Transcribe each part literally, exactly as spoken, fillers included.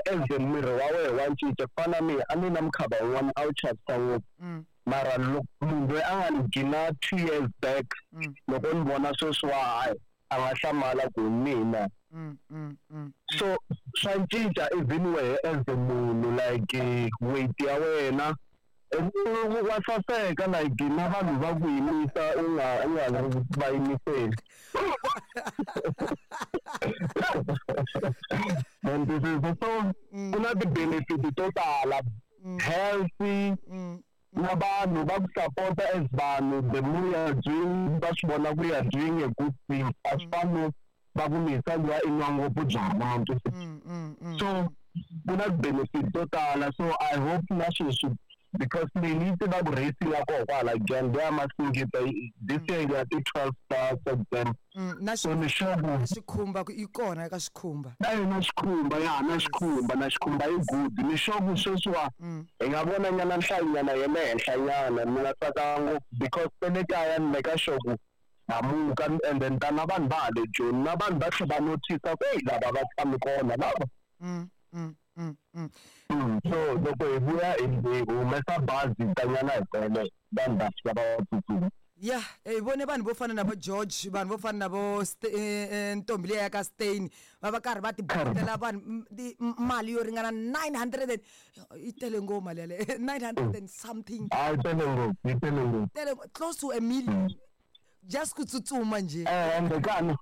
as the miri wa wena wa cinca ku fana na mina a ni na mukhava wun'wana a wu chavisa ngopfu Mm. mara loko munhu loyi a nga ni gina two years back Mm. loko ni vona sweswiwa hayi a nga hlamala ku hi mina Mm. Mm. Mm. so swa cinca even wehe as a munhu like eh, weight ya wena eh, wa saseka like na vanhu va ku yimisa u nga u nga va yimiseli and this is so ku na ti-benefit to tala healthy Mm. na vanhu va ku support as vanhu the more you are doing va swi vona ku you are doing a good thing a swi fani no va ku misa luya i nwa ngopfu byalwa ntwisisa Mm. Mm. Mm. so ku na ti-benefit to tala so i hope na sweswi because leyi ni yi tiva ku racing ya koho kwala Giyani ya Masingita this year ya ti-twelve ta September Mm. Na so ni sure ku xikhumba ku yi kona eka xikhumba. na yona xikhumba ya na xikhumba na xikhumba yi good ni sure ku sweswiwa Mm. hi nga vona nyana nhlayonyana ya le henhla nyana ni nga tsaka ngopfu because te le kaya ni meka sure ku hamuka and then ta na vanhu va ha le Joni na vanhu va tlhe va notice ku eyi lava va tshami kona lava Mm. Mm. Mm. Mm. Mm, so loko hi vuya hi hi humesa bazi hi tanyana hi tele vanhu va fika va tsutsuma ya hi vone vanhu vo fana na vo George vanhu vo fana na vo St- eh, eh, ntombi liya ya ka Stein va va karhi va tibutela vanhu m- ti- m- mali yo ringana nine hundred and yi tele ngopfu mali yaleyo nine hundred and something a yi tele ngopfu yi tele ngopfu tele close to a million just ku tsutsuma njhe eh ende ka na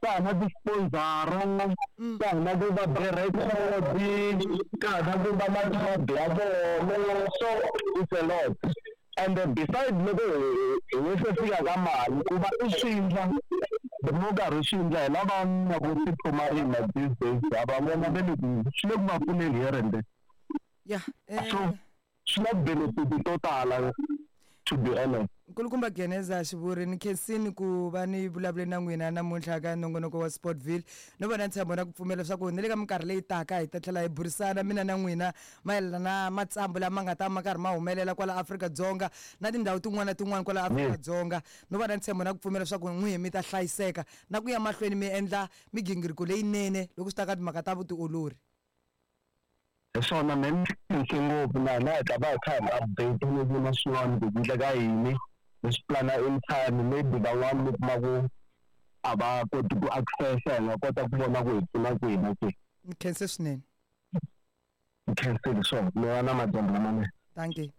ka ha na ti-sponsor-a ka ha na ku va be record ka ha na ku va na club ya vona so it's a lot and then beside loko hi hi nge se fika ka mali ku va i swi endla the more karhi u swi endla hi lava na ku tiphumarima these days ha va vona ve le ku swi le ku va pfuneni here and there ya eh, so swi na benefit to tala to be honest nkulukumba Geneza Xivuri ni khensini ku va ni vulavule na n'wina namuntlha ka nongonoko wa Sportville no vona ntshembo na ku pfumela leswaku ni le ka minkarhi leyi taka hi ta tlhela hi burisana mina na n'wina mayelana na matsambu lama nga ta ma karhi ma humelela kwala Afrika-Dzonga na tindhawu tin'wana na tin'wana kwala Afrika-Dzonga no va na ntshembo na ku pfumela leswaku n'wihi mi ta hlayiseka na ku ya mahlweni mi endla migingiriko leyinene loko swi ta ka timhaka ta vutiolori hi swona me ni khense ngopfu na hina hi ta va hi kha hi update ni vona swin'wana ku endleka yini hi swi plana in time maybe van'wani mi kuma ku a va koti ku access-a hi nga kota ku vona ku hi pfuna kwihi na kwihi ni khense swinene ni khensile swona mi va na madyambu lamanene dankie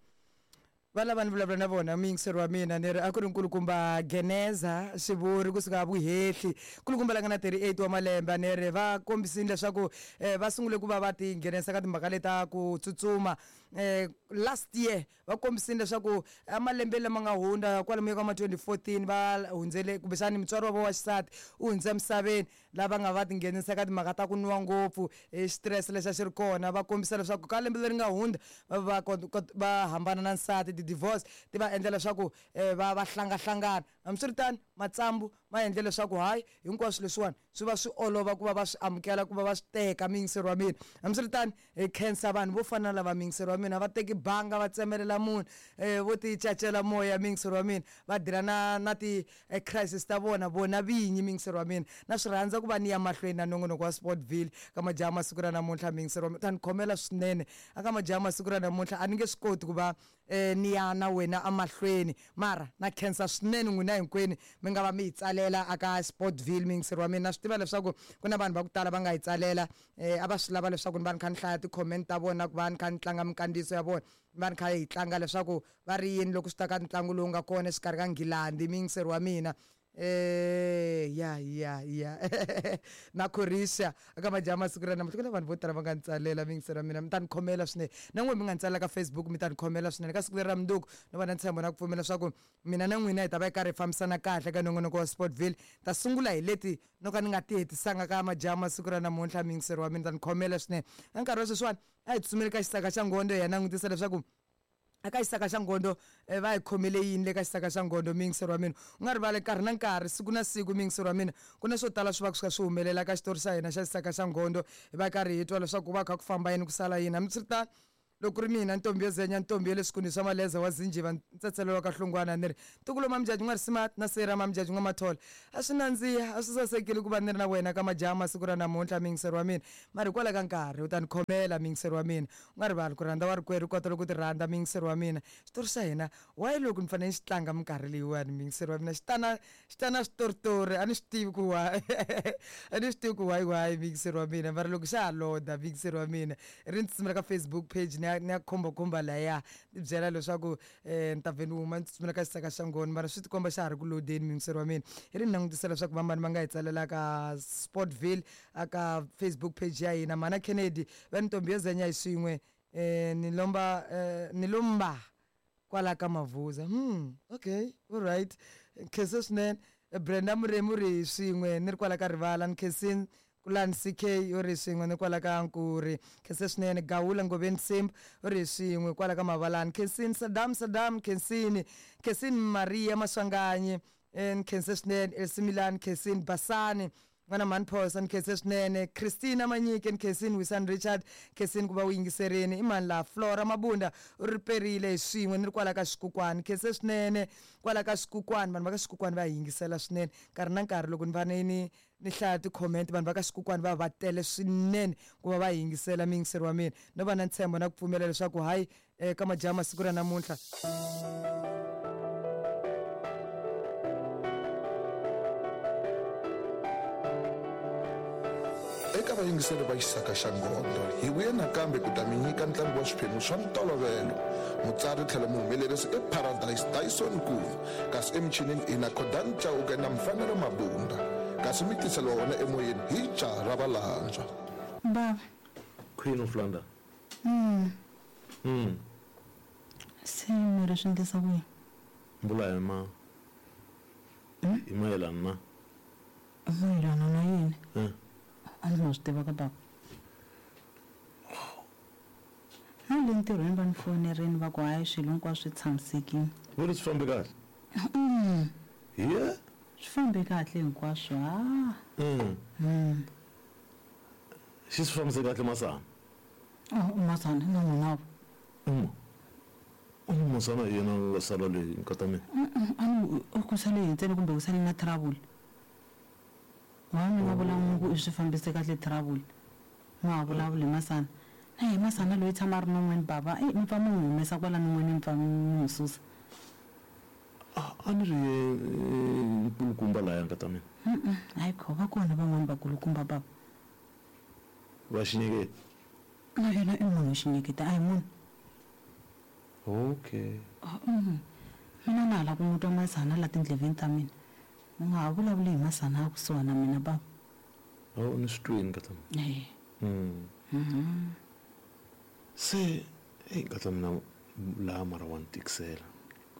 va lava ni vulavula na vona muyingiseri wa mina ni ri a ku ri nkulukumba Geneza Xivuri kusuka Vuhehli nkulukumba la nga na thirty-eight wa malembe ni ri va kombisile leswaku eh, va sungule ku va va ti nghenisa ka timhaka leta ku tsutsuma eh, last year va kombisile leswaku emalembeni lama nga hundza kwalomuya ka ma twenty fourteen va hundzele kumbexani mutswari wa vo wa xisati u hundze emisaveni lava nga va tinghenisa ka timhaka ta ku nwa ngopfu hi xitirese lexi a xi ri kona va kombisa leswaku ka lembe leri nga hundza va va kot- kot- va hambana na nsati ti-divorce ti va endla leswaku eh, va va hlangahlangana hambiswiritano matsambu ma endle leswaku hayi hinkwaswo leswiwani swi va swi olova ku va va swi amukela ku va va swi teka muyingiseri wa mina hambiswiritano hi khensa vanhu vo fana na lava muyingiseri wa mina va teki banga va tsemelela munhu um vo ti cacela moya muyingiseri wa mina va dila na na ti-crisis ta vona vona vinyi muyingiseri wa mina na swi rhandza ku va ni ya mahlweni na nongonoko wa Sportville ka majaha masiku ra namuntlha muyingiseri wa mina ta ni khomela swinene aka majaha masiku ra namuntlha a ni nge swi koti ku va um ni ya na wena emahlweni mara na khensa swinene n'wina hinkwenu mi nga va mi hi tsalela aka Sportville muyingiseri wa mina na swi tiva leswaku ku na vanhu va ku tala va nga hi tsalela um a va swi lava leswaku ni va ni kha ni hlaya ti-comment ta vona ku va ni kha ni tlanga minkandziyiso ya vona ni va ni kha hi tlanga leswaku va ri yini loko swi ta ka ntlangu lowu nga kona exikarhi ka Nghilandi muyingiseri wa mina eh ya ya ya na Croatia aka majaha masiku ra namuntlha ku na vanhu vo tala va nga ni tsalela muyingiseri wa mina mi ta ni khomela swinene na n'wina mi nga ni tsalela ka Facebook mi ta ni khomela swinene ka siku leri ra mundzuku no va na ntshembo na ku pfumela leswaku mina na n'wina hi ta va hi karhi hi fambisana kahle ka nongonoko wa Sportville ta sungula hi leti no ka ni nga ti hetisanga ka majaha masiku ra namuntlha muyingiseri wa mina ta ni khomela swinene ka nkarhi wa sweswiwani a hi tsutsumeli ka xisaka xa ngondo hi ya langutisa leswaku aka xisaka xa ngondo eh, va hi khomele yini le ka xisaka xa ngondo muyingiseri wa mina u nga rivali nkarhi na nkarhi siku na siku muyingiseri wa mina ku na swo tala swi va swi kha swi humelela ka xitori xa hina xa xisaka xa ngondo hi va karhi hi twa leswaku ku va kha ku famba yini ku sala yini hambiswiritano Loko ku ri mina ntombi yo zenya ntombi ya le swikunwini swa maleza wa zinjiva ntsetselelo wa ka hlungwana ni ri ntukulu Mamjaji n'wa Risima na sera Mamjaji n'wa Mathola a swi nandziha a swi sasekile ku va ni ri na wena ka majaha masiku ra namuntlha muyingiseri wa mina mara hikwalaho ka nkarhi u ta ni khomela muyingiseri wa mina u nga rivali ku rhandza wa rikwerhu kota loko ti rhandza muyingiseri wa mina xitori xa hina why loko ni fanele ni xi tlanga minkarhi leyiwani muyingiseri wa mina xi tana xi tana switoritori a ni swi tivi ku why a ni swi tivi ku why why muyingiseri wa mina mara loko xa ha loda muyingiseri wa mina ri ni tsutsumela ka Facebook page ni ya ni ya khombakhomba laya ni byela leswaku um ni ta vhe ni huma ni tsutsumela ka xisaka xa ngoni mara swi tikomba xa ha ri ku lodeni muyingiseri wa mina hi ri ni langutisela leswaku vamani va nga hi tsalela ka Sportville aka Facebook page ya hina mana Kennedy va ni ntombi yo zenya hi swin'we um ni lomba um ni lomba kwala ka Mavuza hmm okay all right khense swinene Brenda Muremi u ri swin'we ni ri kwala ka rivala ni khensini Kulani C K u ri swin'we ni kwala ka Nkuri khense swinene Gawula Ngoveni Simba u ri swin'we kwala ka Mavalani khensini Saddam Saddam khensini khensini Maria Maswanganyi ni khense swinene Elsimilani khensini Basani n'wana mhani Phosa ni khense swinene Christina Manyike ni khensini Wisan Richard khensini ku va u yingiserini i mani laha Flora Mabunda u ri perile hi swin'we ni ri kwala ka Xikukwani khense swinene kwala ka Xikukwani vanhu va ka Xikukwani va hi yingisela swinene nkarhi na nkarhi loko ni fane ni ni hlaya ti-comment vanhu va ka Xikukwani va va tele swinene ku va va yingisela muyingiseri wa mina no va na ntshembo na ku pfumela leswaku hayi ka majaha masiku ra namuntlha eka vayingiseri va xisaka xa ngondo hi vuye nakambe ku ta mi nyika ntlangu wa swiphemu swa ntolovelo mutsari tlhelo muhumelerisi i Paradise Dyson Nkulu kasi emichinini i na Khodan Chauke na Mfanelo Mabunda kasi mi tiseliwa wona emoyeni hi jaha ra valandzwa baba Queen of London mm. mm. Se mi ri swi endlisa ku yini mbula hi ma hi mayelana na mayelana na yini eh. A ndzi nga swi tiva ka baba na le ntirhweni va ni fonerini va ku hayi swilo hinkwaswo swi tshamisekile vo ri swi fambe kahle mm. ye swi fambe kahle hinkwaswo ha mm. mm. xi swi fambise kahle Masana oh Masana na n'wina mm. um Masana hi yena nga sala leyi nkata mina a ni ku sale hi ntsena kumbe ku sale na trouble wa mi nga vula ku i swi fambise kahle trouble ma ha vulavuli hi Masana na hi Masana loyi tshama a ri non'weni baba e mi pfa mi n'wi humesa kwala non'weni mi pfa mi n'wi susa a ni ri nkulukumba laya nkata mina hayi kho va kona van'wani vakulukumba baba va xinyeketi na yena i munhu xinyeketi a hi munhu okay mina na ha lava ku n'wi twa Masana la tindleveni ta mina mi nga ha vulavuli hi Masana a kusuhana na mina baba o ni swi twini nkata mina e mm. Se eyi nkata mina laha mara wa ni tikisela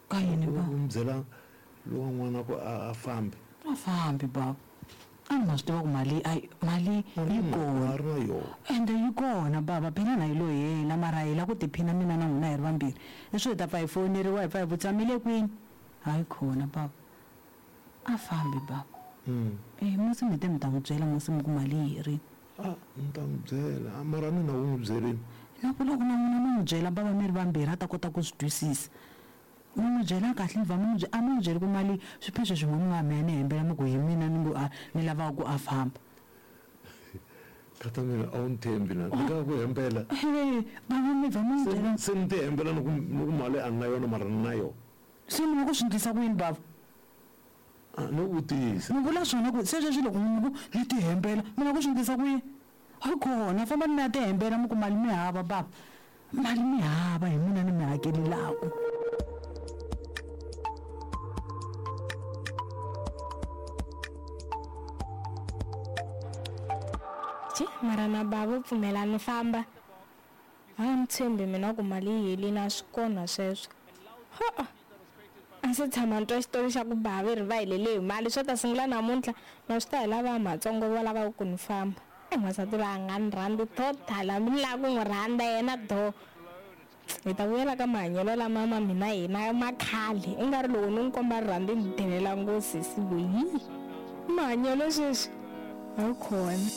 ka yini baba u mi byela lowa n'wana ku a a fambi a fambi baba a ni nga swi tiva ku mali ayi mali yi kona a ri na yona ende yi kona baba phela na yi lo hela mara hi lava ku tiphina mina na n'wina hi ri vambirhi leswi hi ta pfa hi foneriwa hi pfa hi vutisa mi le kwini hayi khona baba a fambi baba mm. e musi mi te mi ta n'wi byela musi mi ku mali yi herini a ni ta n'wi byela mara ni na u n'wi byelini na ku loko na n'wina mi n'wi byela baba mi ri vambirhi a ta kota ku swi twisisa mi n'wi byela kahle mi va mi n'wi a mi n'wi byeli ku mali swiphiqo swin'wana mi nga mi ya ni hembela mi ku hi mina ni ngo a ni lavaka ku a famba kata mina a wu ni tshembi na ni nga ku hembela e baba mi va mi n'wi byela se ni ti hembela ni ku ni ku mali a ni na yona mara ni na yona se mi nga ku swi endlisa ku yini baba ni vutisa mi vula swona ku se sweswi loko mi ku ni ti hembela mi nga ku swi endlisa ku yini hayi kona famba ni ya ti hembela mi ku mali mi hava baba mali mi hava hi mina ni mi hakelelaku Ji mara na baba pfumela ni famba a ni tshembi mina ku mali yi helini a swi kona sweswo ha a ndzi tshama ni twa xitori xa ku bava ri va helele hi mali swo ta sungula namuntlha na swi ta hi lava matsongo va lavaka ku ni famba e n'wansati loyi a nga ni rhandzi total hambi ni lava ku n'wi rhandza yena do hi ta vuyela ka mahanyelo lama ma mina hina ma khale i nga ri loko ni n'wi komba rirhandzu ni delela ngosisi loyi mahanyelo sweswi a wu kona.